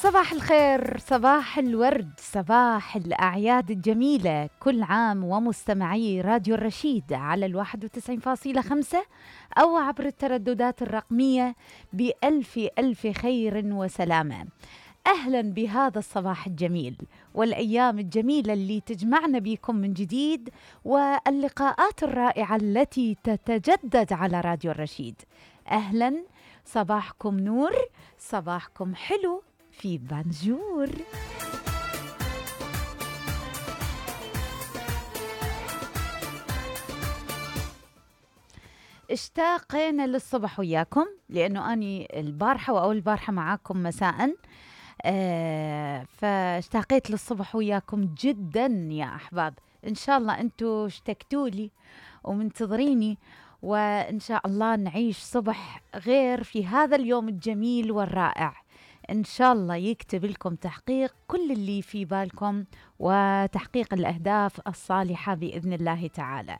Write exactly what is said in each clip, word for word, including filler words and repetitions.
صباح الخير، صباح الورد، صباح الأعياد الجميلة. كل عام ومستمعي راديو الرشيد على الواحد وتسعين فاصلة خمسة أو عبر الترددات الرقمية بألف ألف خير وسلامة. أهلا بهذا الصباح الجميل والأيام الجميلة اللي تجمعنا بكم من جديد، واللقاءات الرائعة التي تتجدد على راديو الرشيد. أهلا، صباحكم نور، صباحكم حلو في بانجور. اشتاقنا للصبح وياكم، لأنه أني البارحة وأول البارحة معاكم مساءً، آه فاشتاقيت للصبح وياكم جدا يا أحباب. إن شاء الله أنتوا اشتقتوا لي ومنتظريني، وإن شاء الله نعيش صبح غير في هذا اليوم الجميل والرائع. إن شاء الله يكتب لكم تحقيق كل اللي في بالكم وتحقيق الأهداف الصالحة بإذن الله تعالى.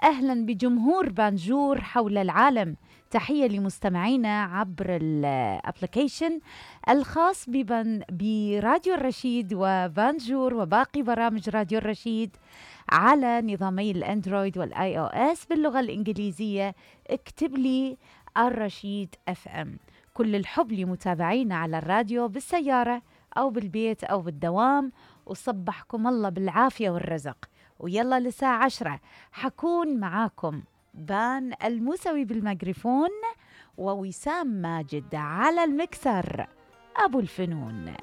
أهلا بجمهور بانجور حول العالم. تحية لمستمعينا عبر الابليكيشن الخاص ببن براديو الرشيد وبانجور وباقي برامج راديو الرشيد على نظامي الأندرويد والآي أو إس باللغة الإنجليزية. اكتب لي الرشيد اف ام. كل الحب لمتابعينا على الراديو بالسيارة أو بالبيت أو بالدوام، وصبحكم الله بالعافية والرزق. ويلا لساعة عشرة حكون معاكم بان الموسوي بالميكروفون، ووسام ماجد على المكسر أبو الفنون.